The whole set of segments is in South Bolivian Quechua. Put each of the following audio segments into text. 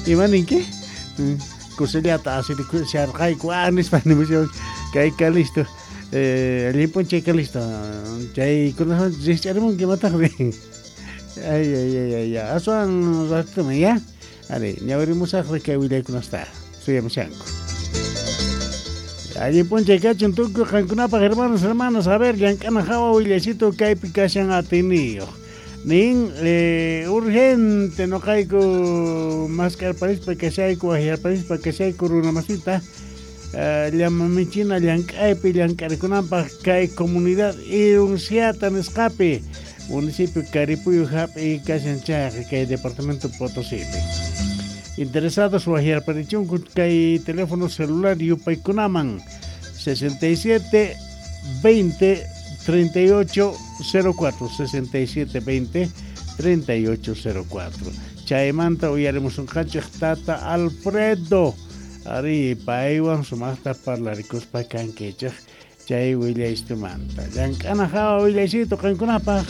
Ima ninki? Kusillata asirikusharqayku nispa nimushan kay Calisto. Allin p'unchay Calisto. Chaykunawan rikch'arimunki imataqri. Ay ay ay ay aswan ratuman ya. Ari, ñawirimusaqri kay willaykunasta suyamushanku. Allin p'unchay kachun tukuy qankunapaq hermanos, hermanas, a ver, llank'ana hawa willaycito kaypi kashan atiniyuq. Nin urgente noqayku mask'arparispa kashayku, waqyarparispa kashayku runa masita llama michina llank'aypi llank'arikunanpaq kay comunidad Irunsiata nisqapi municipio Caripuyo hap'i kashan chayqa kay departamento Potosípi. Interesados waqyarparichunku kay teléfono celular yupaykunaman 67 20 38 04 67 20 38 04. Chaymanta uyarimusunqanchik tata Alfredo. Ari paywan sumaqta parlarikuspa kankichik chay willaysitumanta. Llank'ana hawa willaysitu qankunapaq.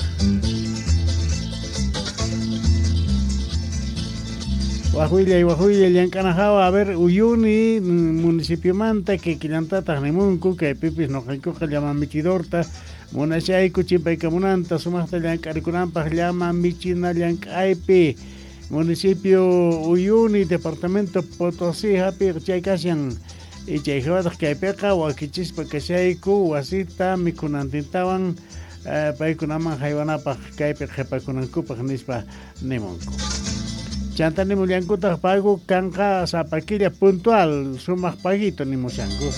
Waj willay llank'ana hawa, a ver, Uyuni municipiomanta kikillantataq nimunku kaypipis noqaykuqa llama michidorta munashayku chimpaykamunanta sumaqta llank'arikunanpaq llama michina llank'aypi municipio Uyuni departamento Potosí hapi chay kashan y chay hawataq kaypiqa wakichispa kashayku wasita mikhunantintawan paykunaman haywanapaq kaypi qhipakunankupaq nispa nimunku. Chanta nimullankutaq pago kanqa sapa killa puntual sumaq paguito nimushanku.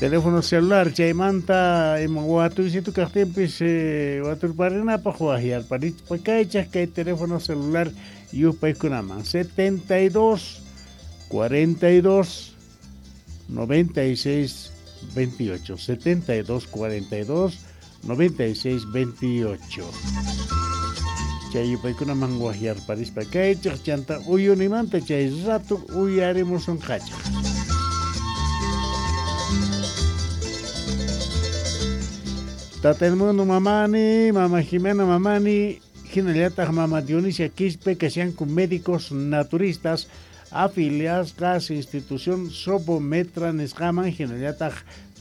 Teléfono celular chaymanta ima watuysitu kaqtinpis waturparinapaq waqyarparispa kaychaq kay teléfono celular yupaykunaman 72 42 96 28 72 42 96 28. Chay yupaykunaman waqyarparispa kaychaq chanta uyunimanta chay rato uyarimusunqachaq. Tata Edmundo Mamani, Mama Jimena Mamani, hinallataq Mama Dionisia Quispe, kashanku médicos naturistas afiliadas institución Sobometra nisqaman hinallataq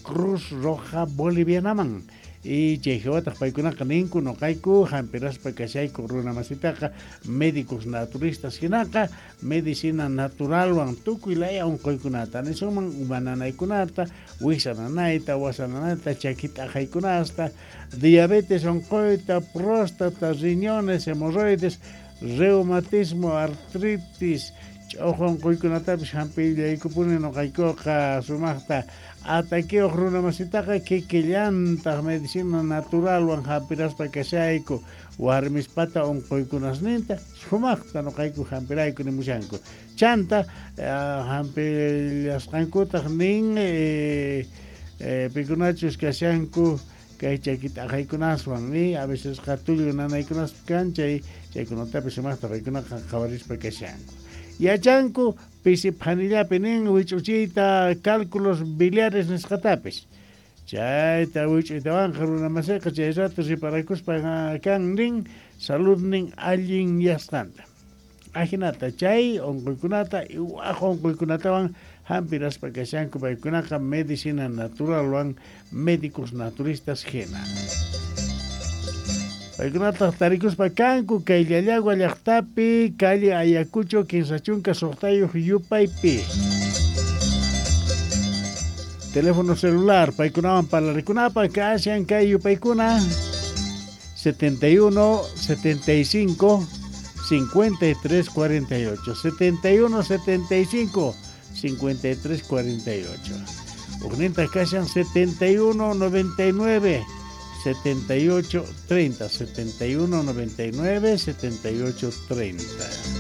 Cruz Roja Bolivianaman. Y chay hawataq paykunaqa ninku noqayku hampiraspa kashayku runa masitaqa médicos naturistas hinaqa medicina naturalwan tukuy laya unquykunata nisunman uma nanaykunata, wiksa nanayta, wasa nanayta, chaki t'aqaykunasta, diabetes unquyta, próstata, riñones, hemorroides, reumatismo, artritis, ch'uqu unquykunatapis hampillaykupuni noqaykuqa sumaqta ataqueoq runa masitaqa kikillantaq medicina naturalwan hampiraspa kashayku warmispata unquykunasninta sumaqta noqayku hampirayku nimushanku. Chanta hampillasqankutaq nin pikunachus kashanku kay chaki t'aqaykunaswan ni a veces tullu nanaykunaspa kan chay chaykunatapis sumaqta paykunaqa qhawarispa kashanku. Yachanku pisi phanillapi nin wich'uchiyta cálculos biliares nisqatapis. Chayta wich'uytawanqa runa masiqa chay rato riparakuspa kan nin saludnin allin yasqanta. Ajinata chay unquykunata waj unquykunatawan hampiraspa kashanku paykunaqa medicina naturalwan médicos naturistas hina. Paykunataq tarikuspa kanku kay Llallagua llaqtapi calle Ayacucho 36 yupaypi. Teléfono celular paykunawan parlarikunapaq kashan kay yupaykuna 71 75 53 48 71 75 53 48. Ujninta kashan 71 99 78 30 71 99 78 30.